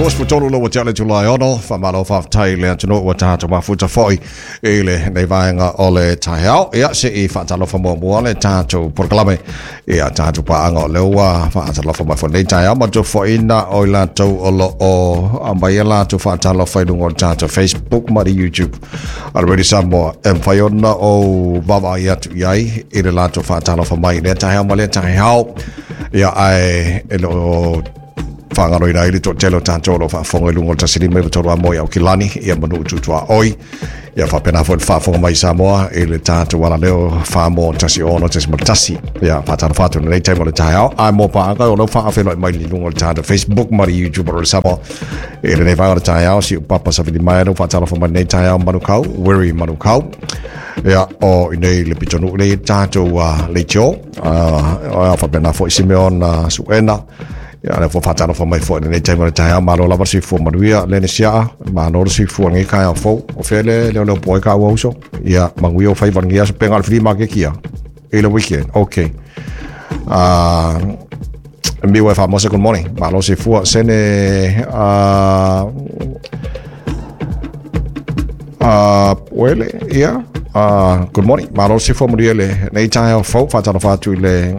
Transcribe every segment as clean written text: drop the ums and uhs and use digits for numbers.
23 le ua tea le itula e 6, faamalo faafetai i le atunuu ua tatou mafuta foi i lenei vaega o le taeao. Ia, se i faatalofa muamua le tatou polokalame ia tatou paaga o lea ua faatalofa mai foi lenei taeao ma tofoaiina o i latou o lo o aumai a latou faatalofa i luga o le tatou Facebook ma le YouTube a le Radio Samoa e mafai ona ou vaavaai atu i ai i le latou faatalofa mai i lea taeao ma lea taeao. Ia, ae e le o faagaloina ai le toatele o tatou o lo o faafofoga i luga o le 153 a moe Aukilani, ia manu tutuaoi, ia faapena foi le faafofoga mai i Samoa i le tatou alaleo Samoa 106.1. Ia faatalofa atu i lenei taimi o le taeao, ae mo paaga o lea ua faafeiloai mai i luga o le tatou Facebook ma le YouTube o le Samoa i lenei vaega o le taeao. Si upapa Savili mai lea ua faatalofa mai lenei taeao Manukau, Wiri Manukau. Ia, o inei le pitonuu nei tatou leitio, faapena foi Simeon Suena. Ia, lea foi faatalofa mai foi i lenei taimi o le taeao. Malo lava le soifua manuia, Lene Siaa. Malo le soifua lenei taeao fou. O fea le leo leo poe ka ua uso. Ia, manuia o faiva lenei aso penga o le flea market kia. I le weekend. Okay. Miu e whaamose, good morning. Malo soifua. Sene, Wele, ia. Good morning. Malo soifua manuia lenei taeao fou. Faatalofa atu i le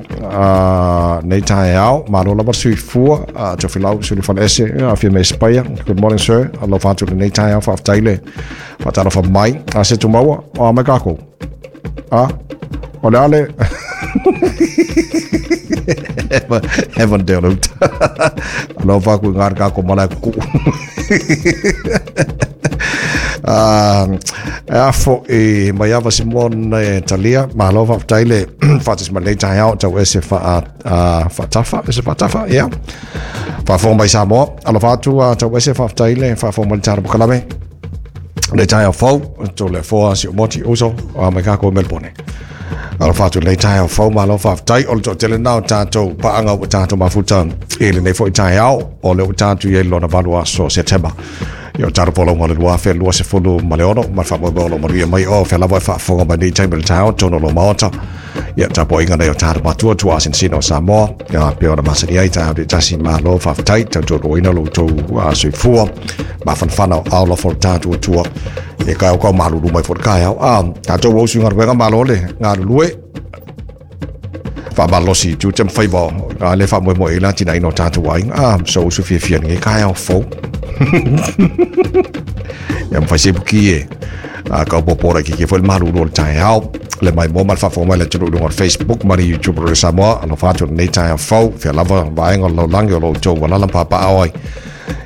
nei taeao. Malo lava le soifua. Tofilau Sulufaleese, afia mai Espaia. Good morning, sir. Alofa atu i lenei taeao. Faafetai le faatalofa mai. A se tumaua, o a mai kākou. A, o le ale. Heaven te ora uta. Alofa aku i ngā kākou malae kuku. E afo i mai ava si moana e talia. Malo faafetai le faatasi mai lenei taeao tau ese faatafa, ese faatafa, ia. Faafofoga mai Samoa. Alofa atu tau ese faafetai le faafofoga mai le tatou polokalame. Le taeao fou, tō le foa si o moti uso, a mai kākou i Melbourne. Alofa atu lenei taeao fou, malo faafetai. O le toatele na o tatou paaga ua tatou mafuta i lenei foi taeao, o le ua tatou i ai lona 8 aso o Setema. Ia o tatou folauga o le 2026, ma le faamoemoe o lo o manuia mai o fea lava e faafofoga mai nei taimi o le taeao, tonu o lo maota. Ia tapuaiga nei o tatou matua tua asinsina o Samoa, ia pei ona masani ai taeao te tasi, malo faafetai, tautualuaina lo outou soifua, mafanafana o ao lofa o le tatou Atua. E kai o kau malulu mai fo le kaeao. A, tatou o usu galuega malo le galulue. Faamalosi i tiute ma faiva o a le faamoemoe i le atinaeina o tatou aiga. A, so usu fiafia lenei taeao fou. Ia mawhai se puki e. A, kau popo ora ki foi le malulu o le taeao. Le mai mo ma le faafofoga mai le atunuu i luga o le Facebook ma le YouTube o le Samoa. Alofa atu lenei taeao fou. Fea lava vaega o le lalolagi o lo outou alala ma papaao ai.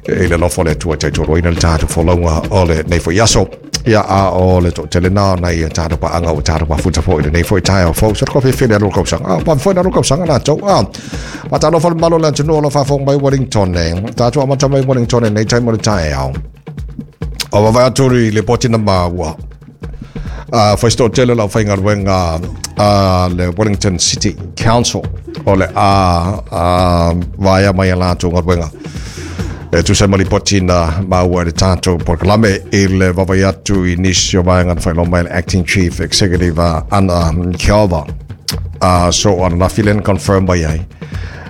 E le alofa o le Atua e taitoloina le tatou folauga o lenei foi aso. Ia, a o le toatele na o nai tatou paaga ua tatou mafuta foi i lenei foi taeao fou. So, ko fefele alo kausaga. A, pa foi na alo kausaga latou. A, faatalofa le mamalu o le atunuu o lo o faafofoga mai Wellington e. Tatou amata mai Wellington i lenei taimi o le taeao. O vaavaai atu i le poti na maua. Fai se toatele o le aufaigaluega a le Wellington City Council o le a vaea mai a latou galuega e tusa ai ma lipoti na maua e le tatou polokalame i le vaavaai atu i nisi o vaega na faailoa mai e le Acting Chief Executive Anna Keova. So ananafi lea na confirm mai ai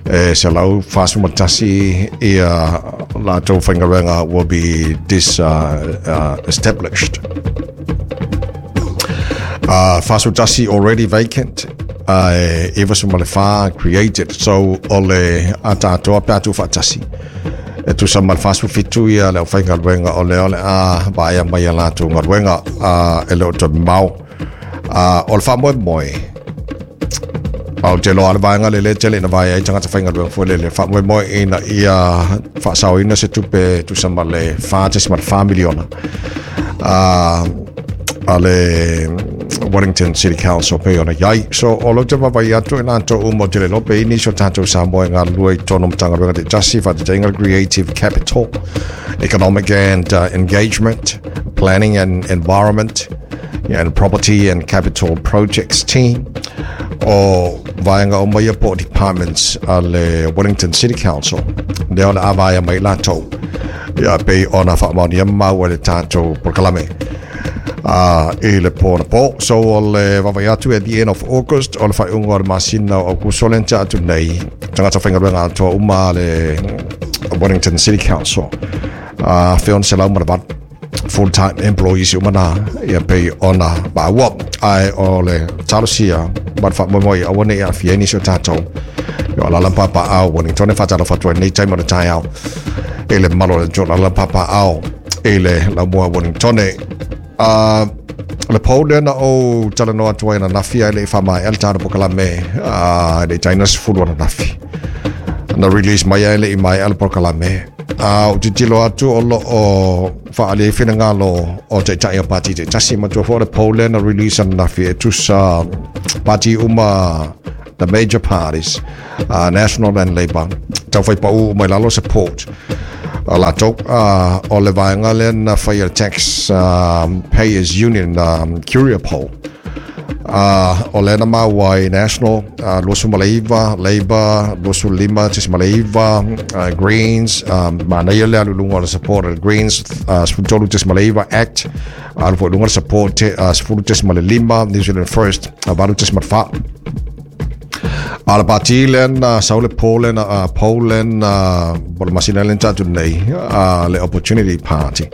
e 141 ia latou faigaluega will be dis established. 41 already vacant, e 94 created. So o le a tātoa pe atu whaatasi. E tusa ma le 47 ia le aufaigaluega o lea o le a vaea mai a latou galuega e le o toe mamao. O le faamoemoe, ou te iloa le vaega lea lea tele ina vaea ai tagata faigaluega foi lele faamoemoe ina ia faasaoina se tupe tusa ma le $4.4 miliona a le Wellington City Council pei ona i ai. So, o lou te vaavaai atu i latou uma ou te le iloa pe i nisi o tatou Samoa e galulue i totonu o Matagaluega taitasi, faataitaiga le Creative Capital, Economic and Engagement, Planning and Environment, and Property and Capital Projects Team, o vaega uma ia po o departments a le Wellington City Council, lea o le a vaea mai latou. Ia pei ona faamaonia mau e le tatou polokalame i le po na po. So o le vaavaai atu at the end of August, o le faaiuga o le masina o Aukuso lea na tea atu nei, tagata faigaluega atoa uma a le Wellington City Council. 1,608 full time employees uma na ia pei ona maua. Ae o le talosia ma le faamoemoe aua ne i aafia ai nisi o tatou o alaala ma papaaao Wellington. E faatalofa atu ai lenei taimi o le taeao i le mamalu o le atunuu, alaala ma papaaao i le laumua Wellington. Le pou lea na ou talanoa atu ai ananafi ae le i faamaea le tatou polokalame, e le i taina 10 ananafi na release mai ae le i maea le polokalame. A ou tilotilo atu o lo o faaali ai finagalo o taitai o pati taitasi. Matua foi o le pou lea na release ananafi e tusa pati uma, the major parties, National and Labour, tau fai pau mai lalo support a latou. O le vaega lea na fai le Tax Payers Union Curia Poll. O lea na maua ai National 29, Labour 25.9, Greens, manaia le alu i luga o le support a le Greens, 13.9, ACT alu foi i luga le support 10.5, New Zealand First 8.4. A le pati lea na sau le poll lea na poll lea na po le masina lea na tatou nei, le Opportunity Party.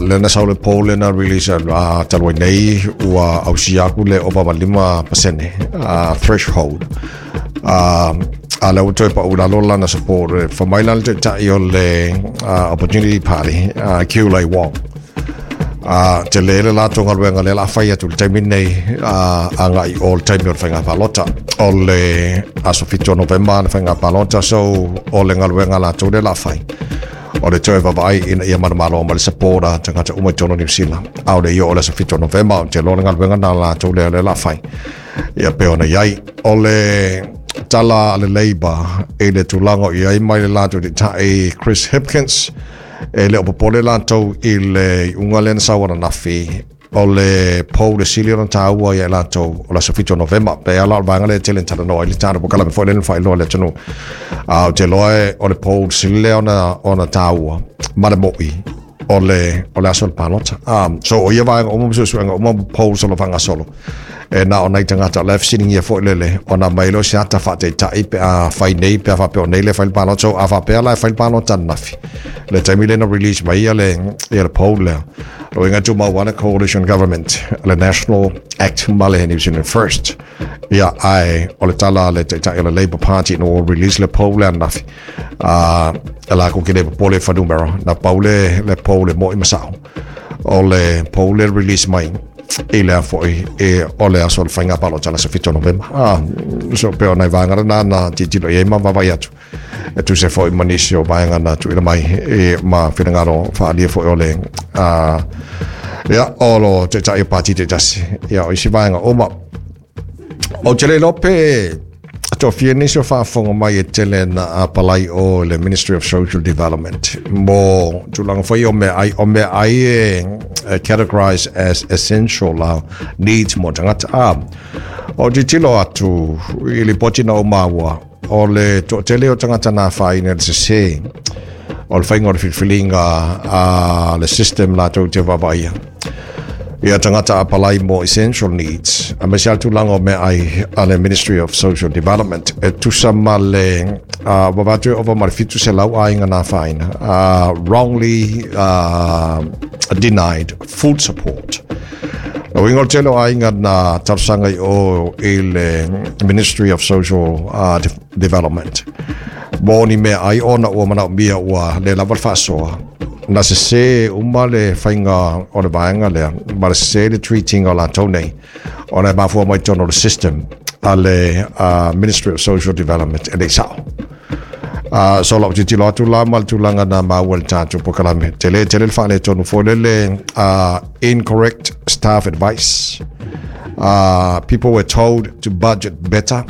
Lea na sau le poll lea na release talu ai nei ua ausia aku le ova ma 5% threshold. A lea ua toe pau i lalo lana support. Fa mai la le taitai o le Opportunity Party, Kiulei Wong. A tele le latou galuega lea la fai atu le taimi nei agai o le taimi o le faiga palota. O le aso 7 o Novema le faiga palota, so o le galuega latou lea la fai. O le toe vaavaai ina ia manumalo ma le support a tagata uma i totonu o Niu Sila. A o le i oo o le aso 7 o Novema, ou te iloa le galuega na latou lea lea la fai. Ia pe ona i ai. O le tala a le Labour i le tulaga o i ai mai le latou taitai Chris Hipkins, e le o popole latou i le iuga lea na sau ananafi. O le pou le sili ona taua ia i latou o le aso 7 o Novema. Pe ala o le vaega lea e tele na talanoa ai le tatou polokalame foi lea na faailoa i le atunuu. A ou te iloa o le pou le sili lea ona taua ma le mo'i o le aso o le palota. So o ia vaega uma ma suesuega uma ma polls o lo o faagasolo, e na o nai tagata o la e fesiligia foi lele ona mai lea o se ata faataitai pe a fai nei, pe a faapea o nei le fai le palota. So a faapea la e fai le palota ananafi le taimi lea na release mai ia le poll lea, lo inga tumau lava le coalition government, le National, ACT ma le New Zealand First. Ia ae o le tala a le taitai o le Labour Party ina ua release le poll lea ananafi, a e lakou ke le popole i fuainumera na pau le poll e mo'i ma sa'o. O le poll le release mai i lea foi e o le aso o le faiga palota le aso 7 o Novema. So pe o nai vaega lena na tilotilo i ai ma vaavaai atu e tusa foi ma nisi o vaega na tuuina mai e ma finagalo faaalia foi o le ia o lo taitai o pati taitasi. Ia o isi vaega uma ou te le iloa pe toafia nisi o faafofoga mai e tele na apalai o le Ministry of Social Development mo tulaga foi o meaai, o meaai e categorize as essential needs mo tagata. O tilotilo atu i lipoti na ou maua, o le toatele o tagata na afaina i le sese o le faiga o le filifiliga a le system latou te vaavaaia ia tagata apalai mo essential needs, aemaise lava le tulaga o meaai a le Ministry of Social Development e tusa ma le ua avatu e ova ma le 700 aiga na afaina, wrongly denied food support. O uiga o le tele o aiga na talosaga i o i le Ministry of Social Development mo ni meaai ona ua manaomia ua le lava le faasoa, na sese uma le faiga o le vaega lea ma le sese le treating o latou nei ona e mafua mai totonu o le system a le Ministry of Social Development e le i sao. So lau tilotilo atu la ma le tulaga na maua i le tatou polokalame, tele tele le faaletonu foi lele, incorrect staff advice. People were told to budget better.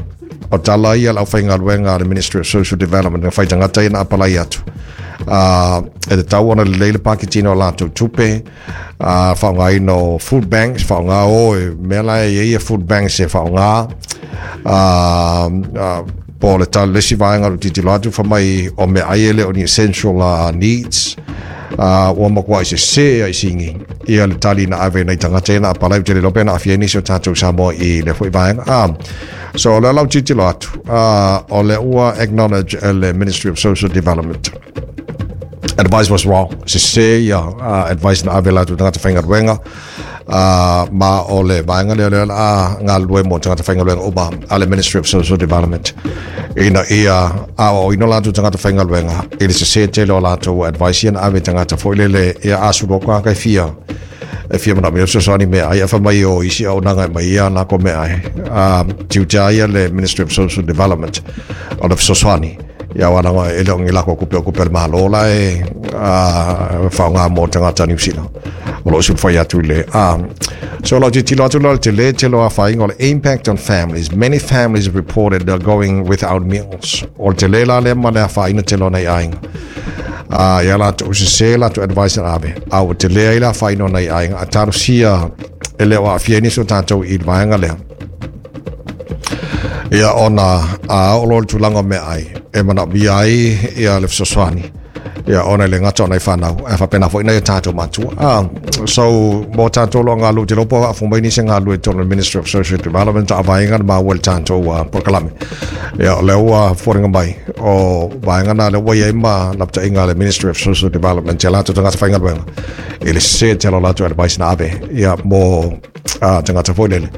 O tala ia le aufaigaluega a le Ministry of Social Development na fai tagata ia na apalai atu. E tatau ona lelei le paketina o latou tupe, faaaogaina o food banks, faaaoga o e mea la e i ai food banks e faaaoga. Po o le tala le isi vaega o le tilotilo atu fa mai o meaai e le o ni essential needs. Ua matuai sese ai sigi ia le tali na ave nai tagata ia na apalai. Ou te le iloa pe na aafia ai nisi o tatou Samoa i lea foi vaega. So o lea la ou tilotilo atu, o lea ua acknowledge e le Ministry of Social Development. Advice was wrong. Sese ia advice na ave latou tagata faigaluega, ma o le vaega lea lea a galulue mo tagata faigaluega uma a le Ministry of Social Development ina ia aoaoina latou tagata faigaluega i le sese tele o latou advice ia na ave tagata foi lele ia asulu atu ka fia e fia manaomia fesoasoani meaai ae fai mai o isi auaunaga e aumai ia latou meaai. Tiute ia le Ministry of Social Development o le fesoasoani ia aua laga e le o ni latou tupe o tupe a le Malo la e faaaoga mo tagata Niu Sila o lo o sulufai atu i le so lau tilotilo atu la le tele tele o afaina o le impact on families. Many families reported they're going without meals. O le tele la lea ma le afaina tele o nai aiga ia latou sese latou advice na ave a ua tele ai le afaina o nai aiga a talosia e le o aafia ai nisi o tatou i le vaega lea. Ia ona a oo loa le tulaga o meaai e manaomia ai ia le fesoasoani ia ona e le gata o nai fanau ae faapena foi nai o tatou matua. So mo tatou lo galulue te lopo faafofoga mai nisi e galulue i totonu o le Ministry of Social Development a vaega na maua i le tatou polokalame. Ia o lea ua foliga mai o vaega na lea ua i ai ma lapataiga a le Ministry of Social Development ia latou tagata faigaluega i le sese tele o latou advice na ave ia mo tagata foi lele.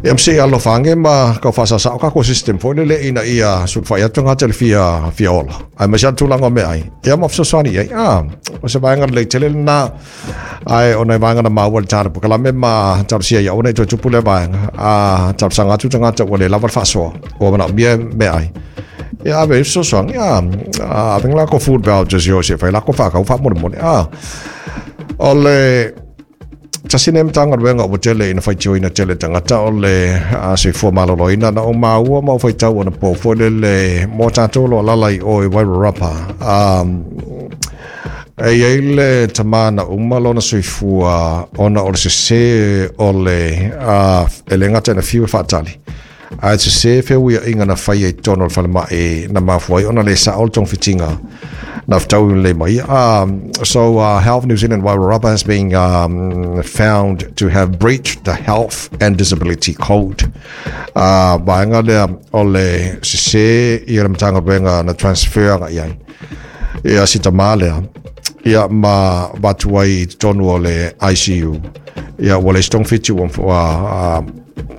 Ia ma se i alofa ane ma tau faasaosao tatou system foi lele ina ia sulufai atu tagata i le fia, fia ola. Aemaise lava le tulaga o meaai. Ia ma fesoasoani i ai. O se vaega lelei tele lena. Ae o nai vaega na maua i le tala polokalame ma talosia ia aua ne i toe tupu lea vaega. Talosaga atu tagata ua le lava le faasoa, ua manaomia meaai. Ia ave ai fesoasoani. Ave ni latou food vouchers i o se i fai latou faatau faamolemole. O le tasi lenei Matagaluega ua tele ina faitioina tele tagata o le soifua maloloina. Na ou maua ma ou faitau anapo foi lele mo tatou o lo o alaala i o i Wairarapa. E i ai le tama na uma lona soifua ona o le sese o le e le gata ina fiu e faatali, ae sese feuiaiga na faia i totonu o le falemai na mafua ai ona le sao le togafitiga na fetaui lelei mai ia. So Health New Zealand Wairarapa has been found to have breached the Health and Disability Code. Vaega lea o le sese ia le Matagaluega na transfer agai ai ia si tama lea ia ma avatu ai i totonu o le ICU ia ua leai se togafiti ua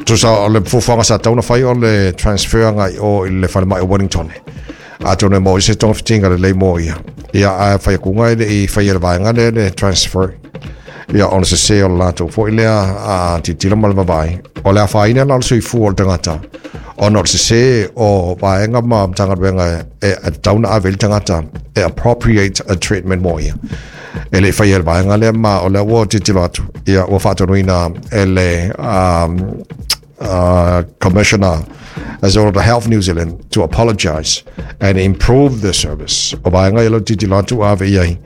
tusa o le fuafuaga sa tatau ona fai o le transfer agai o i le falemai o Wellington. Atonu e maua ai se togafitiga lelei mo ia. Ia ae fai atuga e le i faia le vaega lea le transfer. Ia ona sese o le latou foi lea tilotilo ma le vaavaai. O le afaina la o le soifua o le tagata ona o le sese o vaega ma Matagaluega e tatau ona ave i le tagata e appropriate a treatment mo ia. E le i faia le vaega lea ma o lea ua tilotilo atu ia ua faatonuina e le Commissioner as well the Health New Zealand to apologise and improve the service. O vaega ia lau tilotilo atu ua ave i ai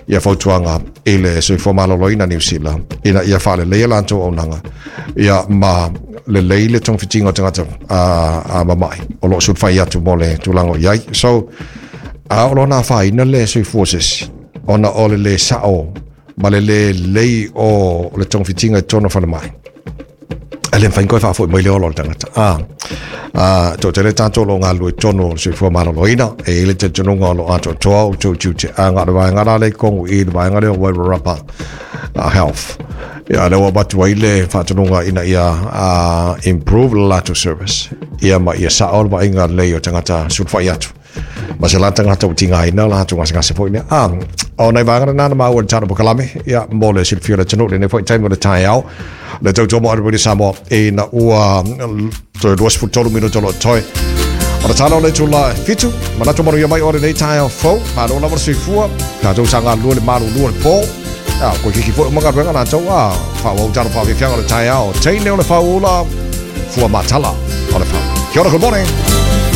ia fautuaga i le Soifua Maloloina Niu Sila ina ia faaleleia latou auaunaga ia ma lelei le togafitiga o tagata a mamai o lo o sulufai atu mo le tulaga o i ai. So, a o lona afaina le soifua o se isi ona o le le sao ma le le lelei o le togafitiga i totonu o falemai. E le mafai ona toe faafoi mai le ola o le tagata. A toatele tatou o lo o galulue i totonu o le soifua maloloina, e i ai le talitonuga o lo o atoatoa outou tiute. Ae na o le vaega la lea i totonu i le vaega lea o Wairarapa Health. Ia, lea ua avatu ai le faatonuga ina ia improve le latou service, ia ma ia sao le vaaiga lelei o tagata sulufai atu. Ma se la tagata ua tigaina latou gasegase foi lea. O nai vaega lena na maua i le tala polokalame, ia, mo le silafia o le atunuu i lenei foi taimi o le taeao. Le tautua mo Radio Samoa ina ua toe 23 minuta o lo o totoe. O le tala o le itula e 7, manatu manuia mai o lenei taeao fou, malo lava le soifua, tatou sa galulue le malulu o le po. A, koe kiki foi o magaluega latou, a, faaauau tala faafiafiaga o le taeao, teine o le fauula, fua matala o le fau. Kia ora, good morning.